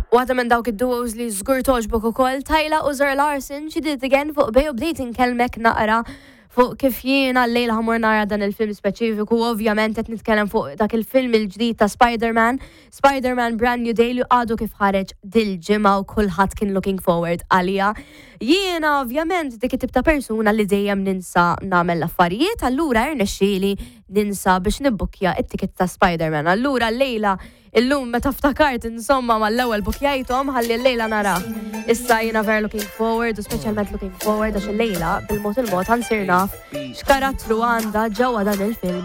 Waħda minn dawk id-duos li żgur togħġbok ukoll, Tyla u Zara Larsson, She Did It Again fuq Bay u bdejt inkellmek naqra fuq kif jiena llejla ħa mmur nara dan il-film speċifiku, ovvjament qed nitkellem fuq dak il-film il-ġdid ta' Spider-Man, Spider-Man Brand New Day li għadu kif ħareġ dil-ġimgħa u kulħadd kien looking forward għaliha. Jiena ovvjament dik it-tip ta' persuna li dejjem ninsa nagħmel l-affarijiet, allura irnexxieli ninsa biex nibbukkja it-ticket ta' Spider-Man. Allura llejla Illum meta ftakart insomma mal-ewwel bukjajthom ħalli llejla nara. Issa jiena vera looking forward u speċjalment looking forward għax illejla bil-mod il-mod ħa nsir naf x'karattru għandha ġewwa dan il-film.